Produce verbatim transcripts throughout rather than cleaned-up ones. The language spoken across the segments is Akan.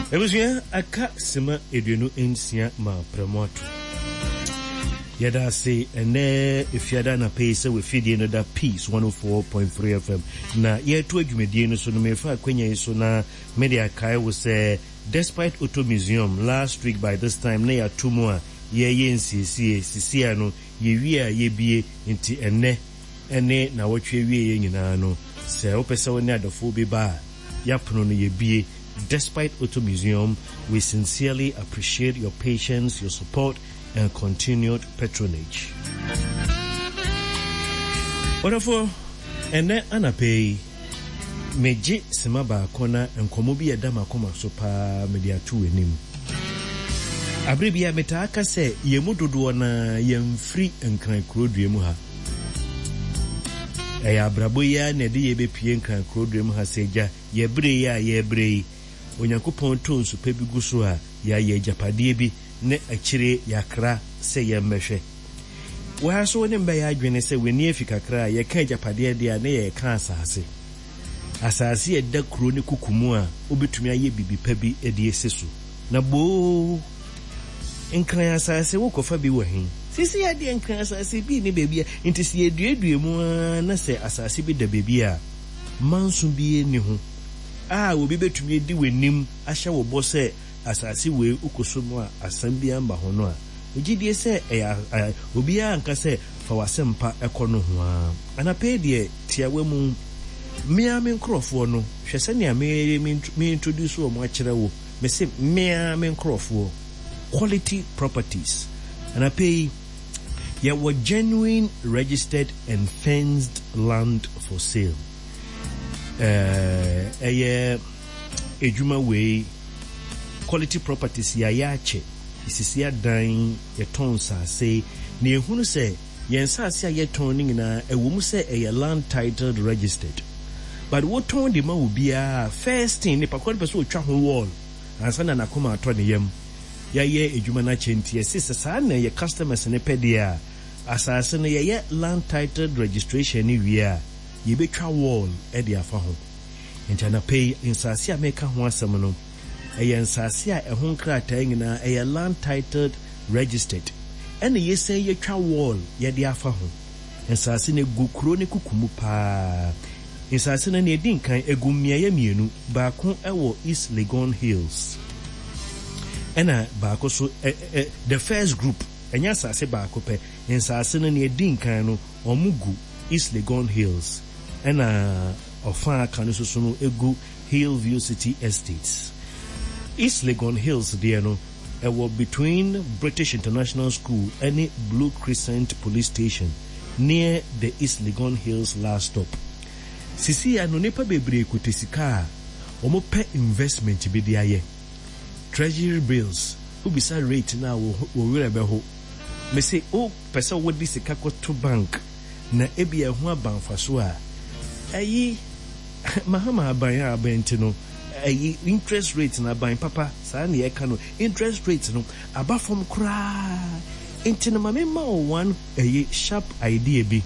Abusua, aka sima aduonu nsia ma prɛmo ato. Yɛda ase ɛnɛ Efiada anapa yi sɛ wafidie no da Peace one oh four point three F M na yɛreto adwumadie no so no. Mefa akwanya yi so na mede akae wo sɛ Despite Auto Museum, last week by this time na yɛato mu a yɛyɛ nsiesie sisia no, yɛwie a yɛbie. Nti ɛnɛ ɛne na wɔtwe awie yɛ nyinaa no, sɛ wopɛ sɛ wo ne adɔfoɔ bi ba a, yɛapono no yɛbie. Despite Auto Museum, we sincerely appreciate your patience, your support and continued patronage. Wɔdɔfoɔ, ɛnɛ anapa yi megye sema baako na nkɔmmɔ bi ɛda m'akoma so paa mede ato w'anim. Abere bi a metaa ka sɛ yɛn mu dodoɔ na yɛmfiri Nkran kurodua mu ha. Ɛyɛ abrabɔ yi ara na ɛde yɛbɛpie Nkran kurodua mu ha sɛ gya yɛbrɛ yi a yɛbrɛ yi, Onyankopɔn to nsu pa bi gu so a yɛayɛ agyapadeɛ bi ne akyire yɛakra sɛ yɛmmɛhwɛ wɔha so. Ne mbɛyɛ adwene sɛ w'ani afi kakra a yɛka agyapadeɛ deɛ a ne yɛka asase, asase a ɛda kuro ne kuku mu a wobɛtumi ayɛ biribi pa bi de asi so. Na boo, Nkran asase wokɔfa bi wɔ he sisi adeɛ? Nkran asase bi ne baabi a nti sɛ yɛduadua mu ara na sɛ asase bi da baabi a manso bi ni ho a obi bɛtumi adi w'anim ahyɛ wo bɔ sɛ asase wei wokɔ so mu a asɛm bi amba ho no a, megye die sɛ ɛyɛ obiara nka sɛ fa w'asɛmpa ɛkɔ no ho a. Anapɛ deɛ tiawa mu, mmea me nkurɔfoɔ no, hwɛ sɛnea me me introduce wɔn akyerɛ wo. Mese mmea me nkurɔfoɔ, Quality Properties. Anapɛ yi yɛwɔ genuine registered and fenced land for sale. Ɛyɛ edwuma wei, Quality Properties, yɛayɛ akyɛ, esisi adan, yɛtɔn nsase na ehunu sɛ yɛn nsase a yɛtɔn no nyinaa ɛwɔ mu sɛ ɛyɛ land titled registered, but wotɔn de ma obiara, first thing nipa koro pɛ sɛ otwa ho wall ansa na n'akoma atɔ ne yam. Yɛayɛ adwuma no akyɛ nti yɛsi sɛ saa na yɛ customers ne pɛ deɛ a, asase no yɛyɛ land titled registration ne wie a, yɛbɛtwa wall de afa ho. Nti anapa yi nsase a meka ho asɛm no ɛyɛ nsase a ɛho nkrataa nyinaa ɛyɛ land titled registered, ɛna yɛsan yɛtwa wall yɛde afa ho. Nsase no egu kuro ne kuku mu paa. Nsase no nea ɛdi nkan egu mmeaeɛ mmienu. Baako ɛwɔ East Legon Hills, ɛna baako so ɛ ɛ the first group, ɛnyɛ asase baako pɛ. Nsase no nea ɛdi nkan no wɔn gu East Legon Hills, ɛna ɔfa aka no soso no egu Hillview City Estates. East Legon Hills deɛ no ɛwɔ between British International School ɛne Blue Crescent Police Station, near the East Legon Hills last stop. Sisi ano nipa bebree kuta sika a wɔn pɛ investment bi de ayɛ. Treasury bills, wobisa rate na wɔ werɛ bɛho. Mese o pɛ sɛ wode sika kɔto bank na ebi ɛho aba mfaso a, ɛyi Mahama aban a aban nti no ɛyi interest rate na aban papa saa na yɛka no, interest rate no aba fam koraa. Nti no maame ma wo one ɛyi sharp idea bi.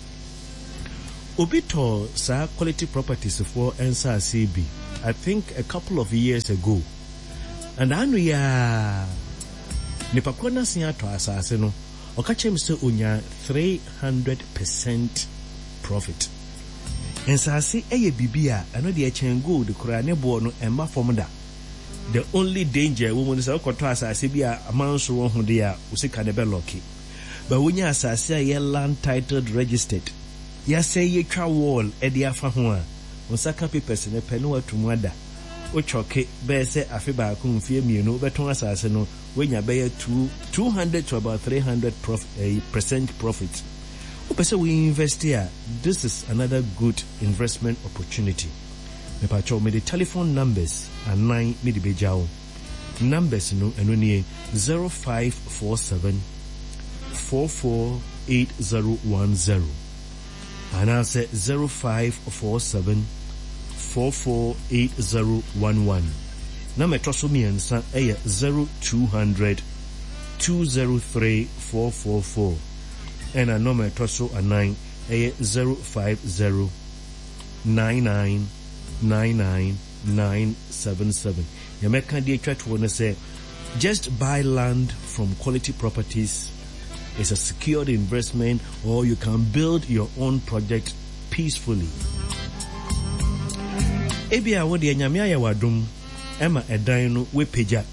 Obi tɔ saa Quality Properties foɔ nsaase bi, I think a couple of years ago, and ano yi a nipa korɔ n'ase atɔ asase no, ɔka kyerɛ me sɛ onya three hundred percent profit. Nsase yɛ biribi a ɛno deɛ kyɛn gold koraa, ne boɔ no ɛmma fam da. The only danger ɛwɔ mu no sɛ wokɔtɔ asase bi a amanso wɔ ho deɛ a, wo sika no bɛlɔke. But wonya asase a yɛ land titled registered, yɛasɛn yɛtwa wall de afa ho a, wo nsa ka papers no pɛ ne watu mu ada. Wotwɔke bɛyɛ sɛ afe baako, mfeɛ mmienu, wobɛtɔn asase no, woanya bɛyɛ two two hundred to about three hundred prof, eh, percent profit. Wopɛ sɛ wo invest a, this is another good investment opportunity. Mepakyɛw, mede telephone numbers anan mede bɛgya wo. Numbers no ɛno nie: zero five four seven four four eight zero one zero anaasɛ zero five four seven four four eight zero one one, na mɛtɔ so mmiɛnsa ɛyɛ zero two hundred two zero three four four four, ɛna nɔma ɛtɔ so anan ɛyɛ zero five zero nine nine nine nine. nine seven seven. Nea mɛka de atwa toɔ ne sɛ, just buy land from quality properties, it's a secured investment or you can build your own project peacefully. Ebia wo deɛ Nyame ayɛ w'adom ɛma ɛdan no w'apagya.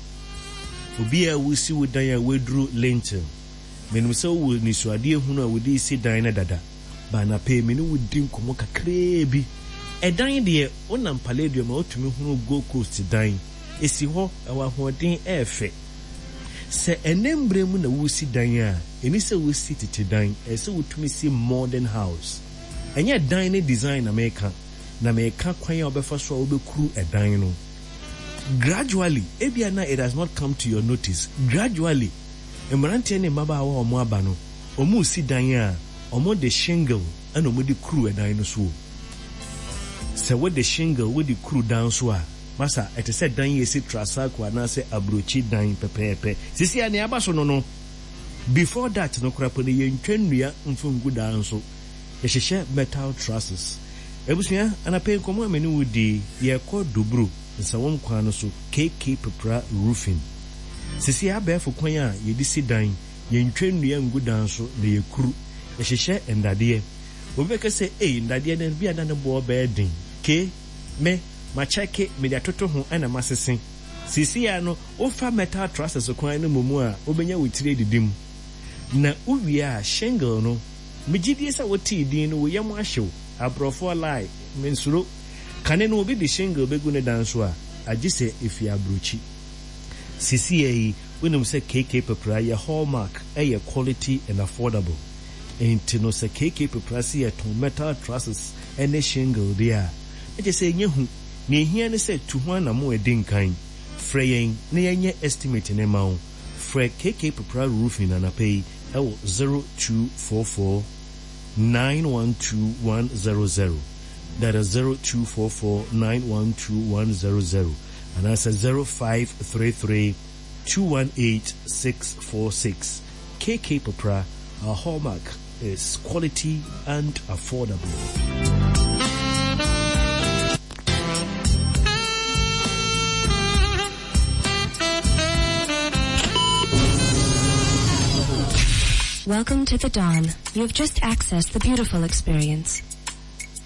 Obi a wosi wo dan a w'aduru lintel, menim sɛ wowɔ nisuadeɛ hunu a wode si dan no dada. Ba anapa yi me ne wo di nkɔmmɔ kakraa bi. Ɛdan deɛ, wonam Palladium a wotumi hunu Gold Coast dan. Esi hɔ, ɛwɔ ahoɔden, ɛyɛ fɛ. Sɛ ɛnnɛ mmerɛ mu na woresi dan a, ɛnni sɛ wosi tete dan, ɛsɛ sɛ wotumi si modern house. Ɛnyɛ dan no design na meka, na meka kwan a wobɛfa so a wobɛkuru ɛdan no. Gradually, ebia na it has not come to your notice, gradually, mmeranteɛ ne mmabaawa a wɔaba no, wɔresi dan a, wɔde shingle na wɔde kuru ɛdan no so o. Sɛ wode shingle wode kuru dan so a, masa, ɛte sɛ dan a esi Trasaco anaasɛ aburokyi dan pɛpɛɛpɛ. Seesei a nea aba so no no, before that no koraa po no, yɛntwa nnua mfa ngu dan so. Yɛhyehyɛ metal trusses. Abusua, anapa yi nkɔmmɔ a me ne wo di, yɛrekɔ Doburo, Nsawam kwan no so, K K Pepra Roofing. Seesei abɛɛfo kwan a yɛde si dan, yɛntwa nnua ngu dan so na yɛkuru. Yɛhyehyɛ nnadeɛ. Obi bɛka sɛ, ei, nnadeɛ no bi a na ne boɔ bɛyɛ den. Ke, me, makyɛke, mede atoto ho ɛna masese. Seesei a no, wofa metal trusses kwan no mmom a, wobɛnya wo tiri adidi mu. Na wowie a, shingle no, megye die sɛ wotee din no, wo yam ahyew. Aborɔfoɔ lie, mensuro. Kane no, obi de shingle bɛgu ne dan so a, agye sɛ efi aburokyi. Seesei yi, wonim sɛ K K Pepra yɛ hallmark, ɛyɛ quality and affordable. Nti no sɛ K K Pepra si yɛtɔn metal trusses ne shingle deɛ a, na kyerɛ sɛ ɛnyɛ hu. Nea ehia ne sɛ tu ho anamo a ɛdi nkan. Frɛ yɛn na yɛnyɛ estimate ne ma wo. Frɛ K K Pepra Roofing anapa yi ɛwɔ zero two four four nine one two one zero zero. That is zero two four four nine one two one zero zero anaasɛ zero five three three two one eight six four six. K K Pepra, our hallmark is quality and affordable. Welcome to the dawn. You have just accessed the beautiful experience.